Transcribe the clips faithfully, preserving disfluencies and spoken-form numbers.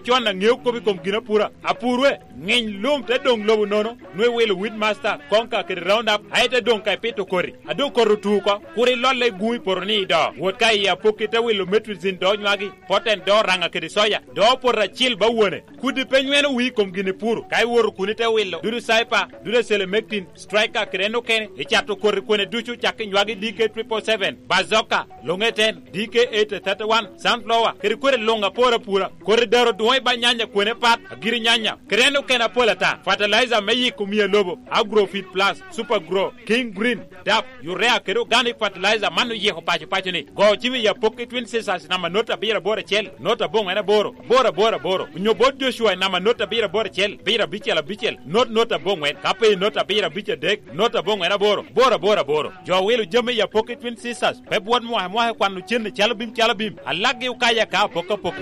Con aŋeo kop i kom gin apura. Apurwe, ŋiny lum te doŋ lobo nono, nwe wilo wheat master, konka kede round up, aye te doŋ ka ipito koti. A doŋ koti otu oko, kur ilolle i guŋ i poto ni i do. Wot ka i apokki te wilo metricin do nywagi, poten do raŋa kede soya, do poto acil ba wone. Kudi pe nyweno wii i kom gin ipuro, ka iwoto kun ite wilo, dudu cyper, dudu selemectin, striker kede en okene, icato koti kwene ducu cak i nywagi D K triple seven, bazooka, Luŋ eten, D K eight thirty-one, sunflower, kede kodi luŋ apor apura, kodi dero dwoŋ i ba nyanya kwene pat, agiri nyanya, kede en okene apol ata, fertilizer me yiko mia lobo, Agrofit Plus, Super Grow, King Green, dap, urea kede organic fertilizer man oyiko paco paco ni. Go cim i apokki Twin Sisters namba not abiro aboro acel, not aboŋwen aboro, aboro aboro aboro, onyo bot Joshua i namba not abiro aboro acel, abiro abicel abicel, not not aboŋwen, ka pe i not abiro abic adek, not aboŋwen aboro, aboro aboro aboro. Jo wilo jami i apokki Twin Sisters, pe bwot mwaka mwaka i kwano cen i calo bim calo bim, alakgi okaya ka apok apok.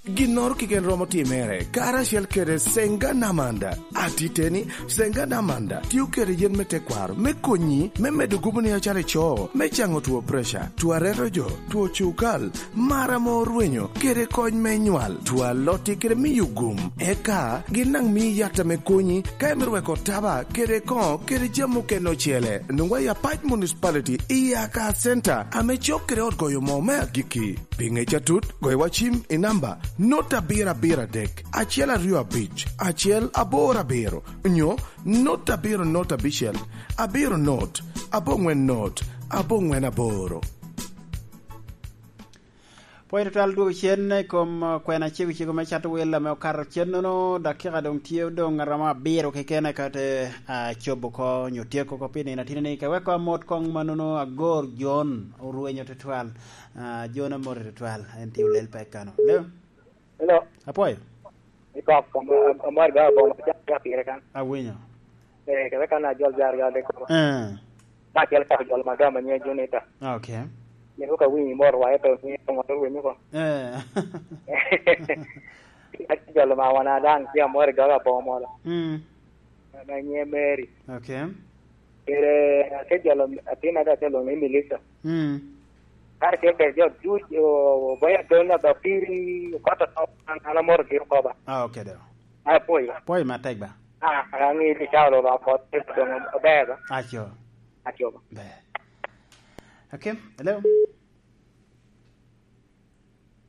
Ginnoro keken romo timere, karacel kede Senga Namanda. Atiteni, Senga Namanda tio kede yen me tekwaro me konyi me medo guboni acalo ico, me caŋo two preca, two aretojo, two cukal, mar ame orwenyo, kede kony me nywal, two alotti kede miyo gum. Eka gin daŋ mii yat ame konyi ka imito weko taba kede koŋo kede jami okene ocele. Nwoŋwa i Apac Municipality i Aka Center ame cok kede ot goyo moo me agikki. Pi ŋec atut, goywa cim i namba not abiro abiro adek, acel aryo abic, acel aboro abiro, nyo not abiro not abicel, abiro not, aboŋwen not, aboŋwen aboro. Pwony tutwal dwogo cen i kom, uh, kwena cego cego me cato wel ame okato cen nono, dakika doŋ tye odoŋ aromo abiro keken eka te, uh, cobo oko nyo tyeko oko pi nino atino ni, ka weko amot koŋ manono agor Jon orwenyo tutwal, uh, Jon amoti tutwal, en tye olel pek kano. Leo? Hello. Apwoyo. Ikok, am-, am-, amor ga boma, ja, ja pire kan. Awinyo. Eh, kede kan ajol jar ga de ko. Eh. Ma acel ka jol ma gama nye Junita. Okay. Ni ko ka winyi mor wa eto ni ko ngot winyi ko. Eh. Ka jol ma wana dang ki amor ga ga boma la. Mm. Ma nye Mary. Okay. Kede, ate jolo atin ada te lwongo ni Melissa. Mm. Kare tye kede jo duc, o, oboyo atol na ba piri, okoto to, an, an amoro giro ko ba. Ah, okay, do. Ai, pwoyo. Pwoyo matek ba. Ah, an aŋeyo ni cawa lo ba pot, doŋ aber ba. Aco. Aco ba. Ber. Okay, hello.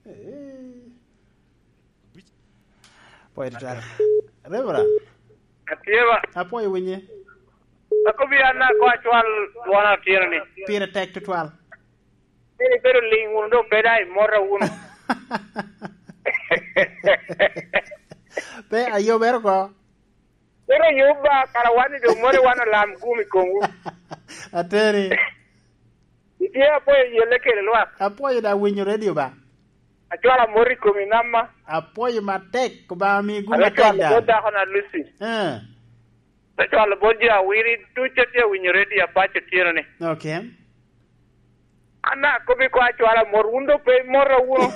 Eh. Pwoyo tutwal. Reverend. Atye ba. Apwoyo winye. Akobi an na ko acwal dwona otyeno ni. Pire tek tutwal. Ni ibedo liŋ wunu, dok pe daŋ imota wunu. Pe ayobere oko. Mito yub ba, kara wan i doŋ mot i wan olam gum i komwu. Ateni. Itye apwoyo yelle kede lwak. Apwoyo daŋ winyo redio ba. Acwalo amot i komi namma. Apwoyo matek, Obaŋa mi gum atek daŋ. Ame cwalo bot dako na Lucy. Eh. Ame cwalo bot jo awiri ducu a tye awinyo redio Apac otyeno ni. Okay. An daŋ akobbi ko acwalo amot, wun doŋ pe imota wunu.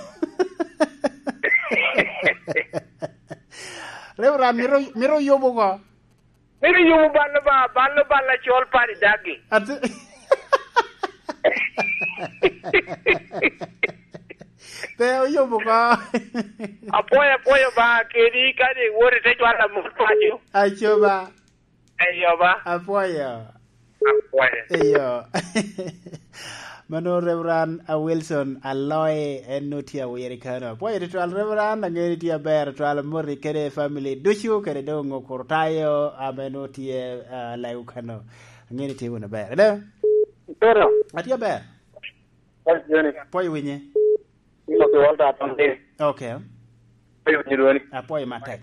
Reverend, mito, mito yubo oko. Mito yubo bal Obaŋa, bal Obaŋa acol padi dagi. Ati-, pe oyubo oko. Apwoyo, apwoyo Obaŋa kedi, kadi iwoto ite cwalo amot paco. Aco ba. Eyo ba. Apwoyo. Apwoyo. Eyo. Mano Reverend, a, Wilson Aloe, en nwoŋo tye awiri kano. Apwoyo tutwal Reverend, aŋeo ni tye aber tutwal, amoti kede family ducu, kede doŋ Okurtayo, ame nwoŋo tye, a, Lagu kano. Aŋeo ni tye wunu aber. Hello? Pero. Atye aber. Pwoyo winye. Ino ki Walter Atong Deni. Okay. Pwoyo winye dwoni. Apwoyo matek.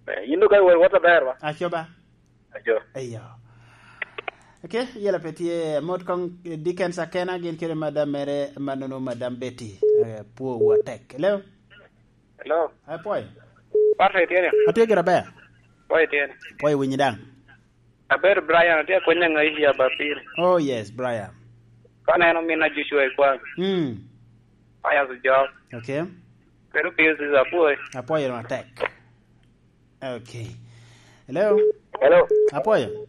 Eh, yin doŋ ka iwor wot aber ba? Aco ba. Aco. Eyo. Okay, yela pe tye, mot koŋ, eh, Dickens Akena, gin kede madam mere, manono madam Betty, eh, pwowu atek. Hello? Hello? Apwoyo. Pastor itye ni? Atye gira ber. Pwoyo itye ni? Pwoyo winyi daŋ. Aber Brian, atye akwenya ŋa i Abapir. Oh yes, Brian. Ka neno min a Joshua i kwan. Mm. Pius Job. Okay. Pero Pius is apwoyo. Apwoyo matek. Okay. Hello? Hello. Apwoyo.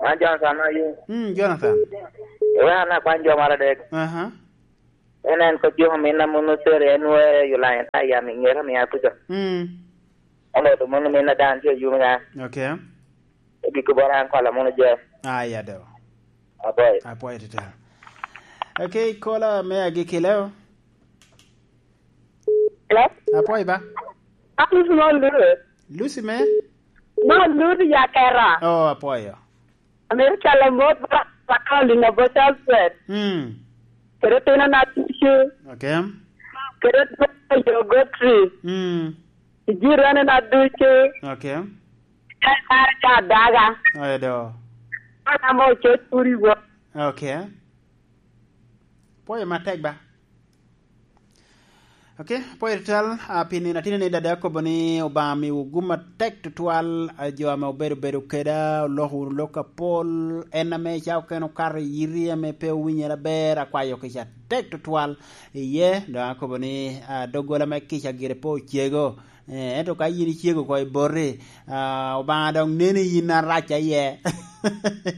An Jonathan aye. Mm, Jonathan. Ewe an akwan jo mara dek. Aha. En, en kop jo omin a munu sere, en wee Yulaya, a yam i ŋera mi a kuca. Mm. Ento to munu min a dan tye yumi na. Okay. Ebi kubo ran kwala munu je. Aya do. Apoy. Apoy tita. Okay, kola me agikileo. Hello? Apoy ba? Akus mo lure. Lucy me? Mo lure ya kera. Oh, apoyo. America la mot ba, ba ka linga bo Charles Fred. Mm. Kere tino na tucu. Okay. Kere tino yo gotri. Mm. Ijirane na ducu. Okay. Kare kare ca daga. Oyo do. Ana mo cho turi wo. Okay. Poyo matek ba. Okay, poyo tal, ah, pi nino atino ni dada akobo ni Obaŋa miwu gum atek tutwal, ah, jo ame obedo bedo keda, oloko wunu lok apol, en ame ca okene okato i yiti ame pe owinyere aber, akwayo kica atek tutwal iye, dok akobo ni, ah, doggola me kica gire pe ocego. Eh, ento ka yin icego oko i boti, ah, Obaŋa dok neni yin arac aye.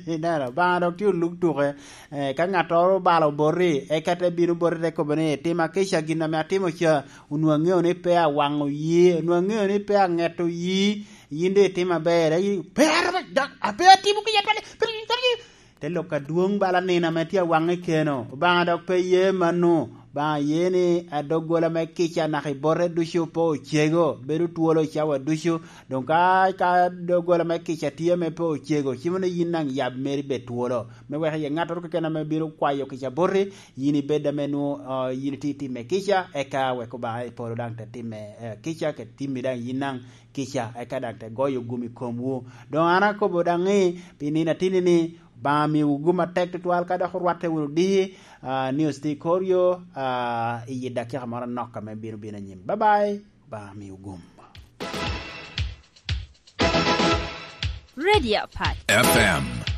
Ineno, Obaŋa dok tye oluk tuke. Eh, ka ŋattoro obalo boti, eka te bino boti te kobo ni, "Tima kica gin ame atimo ca, onwoŋo aŋeo ni pe awaŋo yi, onwoŋo aŋeo ni pe aŋeto yi, yin doŋ itimo aber." Ayi, "Pe, pe, dok, a, pe atimo kica twali, pe, pe, pe." Te lok adwoŋ bala nino ame tye awaŋe keno. Obaŋa dok pe ye mano. Obaŋa ye ni adoggola me kica naka i bote ducu pe ocego, bedo twolo i cawa ducu. Doŋ ka, ka doggola me kica tye ame pe ocego, cimo ni yin daŋ yab meri bed twolo. Me wek iye ŋattoro keken ame bino kwayo kica boti, yin ibed ame nwo, ah, yin itye timme kica, eka wek Obaŋa i polo daŋ te timme, eh, kica, ke timmi daŋ yin daŋ kica, eka daŋ te goyo gum i komwu. Doŋ an akobo daŋ ni, pi nino atini ni, Obaŋa miwu gum atek tutwal ka dok orwatte wunu diki, ah, news tye i kor yo, ah, i yi dakika moro anok ame bino bino anyim. Bye bye, Obaŋa miwu gum. Radio Pat. F M.